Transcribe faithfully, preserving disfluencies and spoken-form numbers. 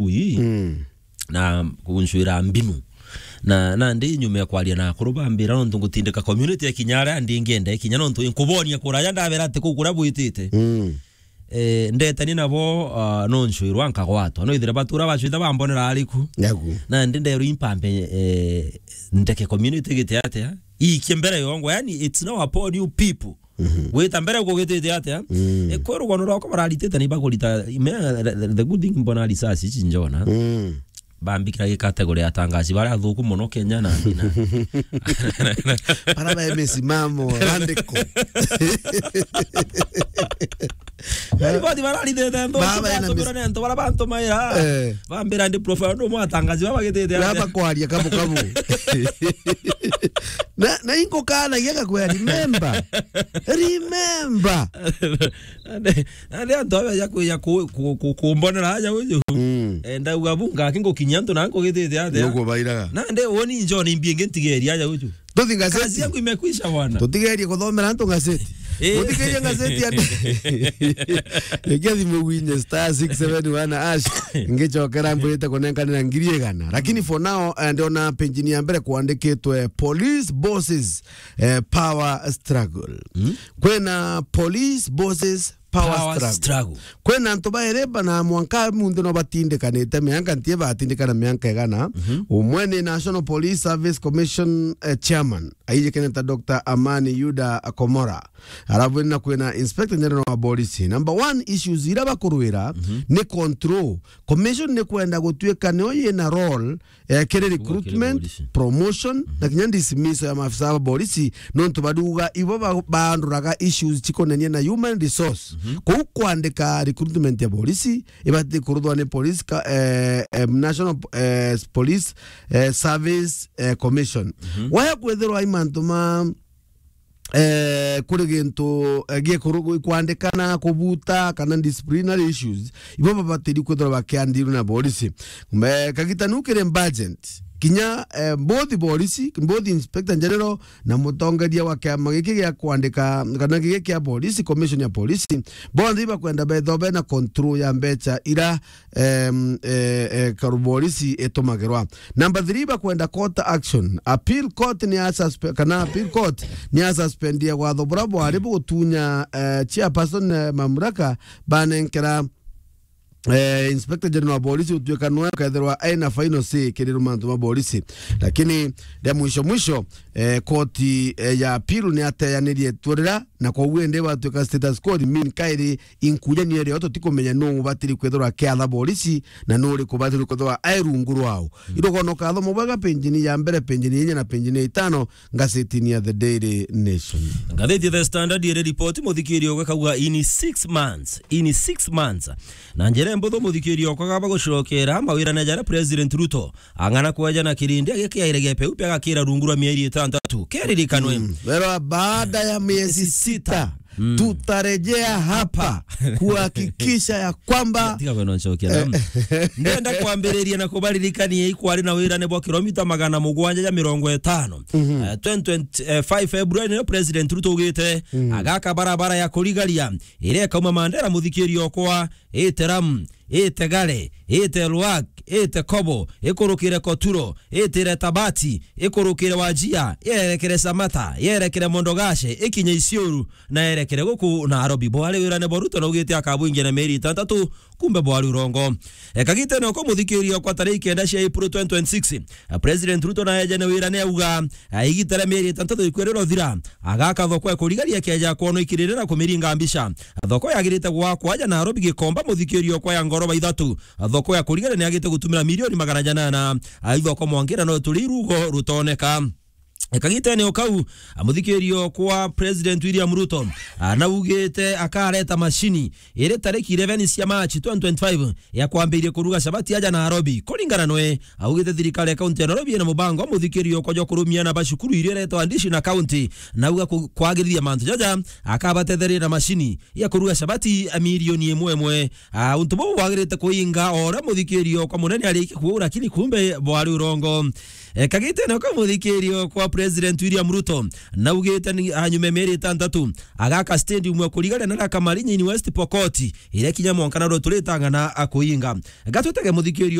ui. Mm. Na kuncwira mbinu. Na, na ndi nyuma ya kwaria na akuru bambira nontu ngutindika community ya kinya aria ndi ngienda kinya nontu nkubonia kuraja ndabera ati kuu kuria bwitite. Mm. Eh, ndetani nabo, ah, no ncwirwa nkagwatwa. No ithire batura bacwita bambonera ariku. Yaku. Na ndi nderu impambe, eh, ndeke community gite atia. Ikie mbere yongo, yani, it's now upon you people. Mhm. Gwita mbere kugitite atia? Mm. E, kwi rugono rwakwa bararitite ni bagurita, me, the, the, the good thing mbona risasi ici njona. Mm. Bambikira gi category ya atangazi baria athuku muno Kenya na, na, bara ba misimamo randiko. Yani, bodi bararitite nthu, baba ena mis- batumira ni antu bara bantumaira. Eh. Bambira ndi profile ndo mwatangazi baba gitite atia? Baba kwaria kabu kabu. Na, na ingo kana giaka kwea, remember. Remember. Ande, ande antu abeja kwija ku-, ku-, ku-, kumbonera aja uju. Mm. Eh, ndauga bu ngaki ngukinyia antu na nkugitite atia? Nukubairaga. Na nde woni njoni mbi ingi ntigeria aja uju. Tuthi ngazeti. Kazi yangu imekwisha bwana. Tutigerie kuthomera antu ngazeti. Eh. Muthikirie ngazeti ande. Ikia thimu gwinye star six seven one hash. Ngicokera mbwirite kunenkanira ngiri igana. Lakini for now, eh, ndiona page ya mbere kwandikitwe police bosses, eh, power struggle. Mm. Kwina police bosses power Power struggle. Struggle. Kwina antu bairi bana mwanka munthe no batindikanite mianka ntie batindikana mianka igana. Mhm. Umwe ni National Police Service Commission, eh, chairman, aijikene ta Doctor Amani Yuda Komora. Arabu na kwina Inspector General wa Police. Number one issues ira bakurwira, mhm, ni control. Commission ni kwenda gutuika nio yina role, eh, kiri recruitment, police, promotion, mhm, na kinya dismissal ya maafisa ba polisi, nontu baruga ibo ba-, baanduraga issues cikonenie na human resource. Mhm. Kou kwandika recruitment ya polisi, ibati kuruthwa ni police ka-, eh, eh, National, eh, Police, eh, Service, eh, Commission. Mhm. Waya kwethirwa i mantu ma eh, kuri gintu, eh, giekuru-, kwandikana, kubuta, kana disciplinary issues, ibo babatiri kwithirwa bakiandirwe na borisi. Me-, kagita nu kiri budget, kinya, eh, both borisi, both Inspector General na mutongeria wa kiama giki gia kwandika, kana giki kia borisi, Commission ya Polisi, bonthe ibakwenda betho bena control ya mbecha ira em, eh, eh, karuborisi itumagirwa. Number three, bakwenda court action. Appeal court ni ya suspe-, kana appeal court ni ya suspendia watho bura bwari bugutunya, eh, chairperson, eh, mamlaka banenkera, eh, Inspector General wa Borisi utuika nwe ukethirwa aina final say kiri mantu ma borisi. Lakini ria mwisho mwisho, eh, koti, eh, ya appeal ni ateyanirie turira, na kwoguo indi batuika status quo, mean kairi inkuja ni iri o tutikumenya nu ubatiri kwithirwa akiatha borisi na nu uriku ubatiri kwithirwa ai rungu rwao. Mm. Irugono kathoma bwega penjini ya mbere, penjini ya inya na penjini ya itano ngazetini ya The Daily Nation. Ngatheti The Standard iri ripoti muthikirio gwikauga in six months, in six months. Na njira mbuthu muthikirio kwa gaba gucokera mawirane jara President Ruto ang'ana kweja na kirindi agikiaire gepeu pia gakira rungu rwa mieri itantatu. Keririkanwe. Mm. Wero baada ya miezi sita, mm, tutarejea hapa kuhakikisha ya kwamba tiga kwenda ncokia, eh, na ndenda kwambiriria na kubaririkania ikwari na wirane bwa kilomita magana mugwanja ja mirongo itano. Mhm. Eh, twenty twenty-five February nio President Ruto ugite, mhm, agaka barabara ya kurigaria iria ikauma Mandera muthikirio okwa, ite Ram, ite Gare, ite Ruak, ite Kobo, ikurukire Koturo, itire Tabati, ikurukire Wajia, yerekere Samata, yerekere Mondogashe, ikinye Isiuru, na yerekere guku Nairobi. Bwari wirane bwa Ruto na ugite akabwingia na mieri itantatu, kumbe bwari urongo. E, kagitene oko muthikirio kwa tariki kenda cia April twenty twenty-six, President Ruto na ejene wirane auga, a, igita ria mieri itantatu ikwirira uthira, agaka thoko ya kurigaria keja kwonwa ikirire na kumiringa mbica. Thoko yagirite gwakwa aja Nairobi Gikomba muthikirio kwa ya ngoroba ithatu. Thoko ya kurigaria ni yagite gutumira milioni magana janana. A, ithoko mwangira no turi rugo rutoneka. E, kagitene o kau, a, muthikirio kwa President William Ruto, a, naugite akareta mashini iri tariki eleven cia March twenty twenty-five ya kwambiriria kuruga cabati aja Nairobi. Kuringana nwe, augite thirikari ya kaunti ya Nairobi ina mubango wa muthikirio kwa jwa kurumia na bacukuru iria iretwa Ndishi na kaunti, na auga ku-, kwagirithia mantu jaja, akabatetheria na mashini ya kuruga cabati a milioni imwe imwe. A, untu buu bwagirite kuinga o uria muthikirio kwa munene arikie kuuga, lakini kumbe bwari urongo. E, kagitene ka muthikirio kwa President William Ruto, naugite ni anyume mieri itantatu agaka stadium ya kurigania na Kamarinya in West Pokot, iria kinya mwanka na ruturitangana akuinga. Gatutege muthikirio